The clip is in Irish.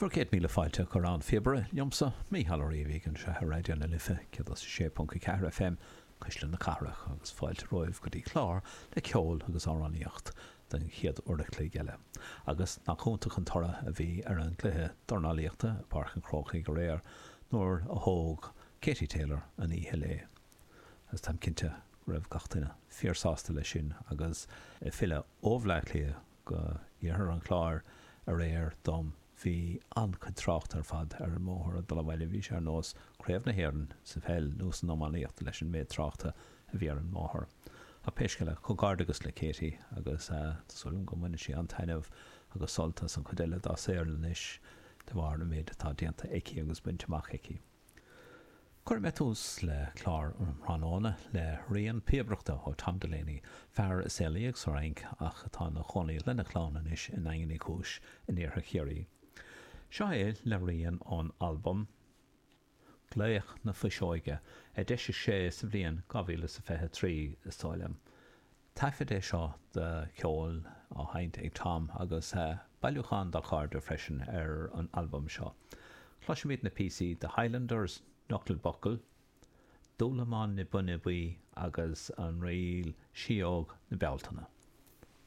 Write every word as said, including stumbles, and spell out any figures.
Bhur gcéad míle fáilte chuig An Phíobaire liomsa, Mícheál Ó Riabhaigh, anseo ar Raidió na Life céad is a sé ponc a ceathair FM, Cuisle na Cathrach, agus fáilte romhaibh go dtí clár le ceol agus amhránaíocht don chéad uair a chloig eile. Agus nach iontach an toradh a bhí ar an gcluiche dornálaíochta i bPáirc an Chrócaigh aréir nuair a thóg Katie Taylor an oíche léi. Agus táim cinnte go raibh gach duine fíorshásta leis sin agus ag filleadh ó Bhleá Cliath go iarthar an Chláir aréir dom bhí an-chuid tráchta ar fad ar an mbóthar ag dul abhaile. Bhí sé ar nós Craobh na hÉireann sa pheil nó san iománaíocht leis an méid tráchta a bhí ar an mbóthar. Ach pé scéal é, comhghairdeachas le Katie agus tá súil agam go mbainfidh sí an-taitneamh agus sult as an chuid eile dá saol anois de bharr an méid atá déanta aici agus bainte amach aici. Cuirfidh mé tús le clár an tráthnóna le rian píobaireachta ó Tom Delaney, fear a saolaíodh sa Fhrainc ach atá ina chónaí lena chlann anois i nDaingean Uí Chúis in iarthar Chiarraí. Seo é le rian ón albam Glaoch na Fuiseoige, a d'eisigh sé sa bhliain dhá mhíle is a fiche trí, is dóigh liom. Taifead é seo de cheol á sheinnt ag Tom agus bailiúchán dá chairde freisin ar an albam seo. Cloisfimid na píosaí The Highlanders, Knuckle Buckle, Dúlamán na Binne Buí agus an ríl Síóg na Bealtaine.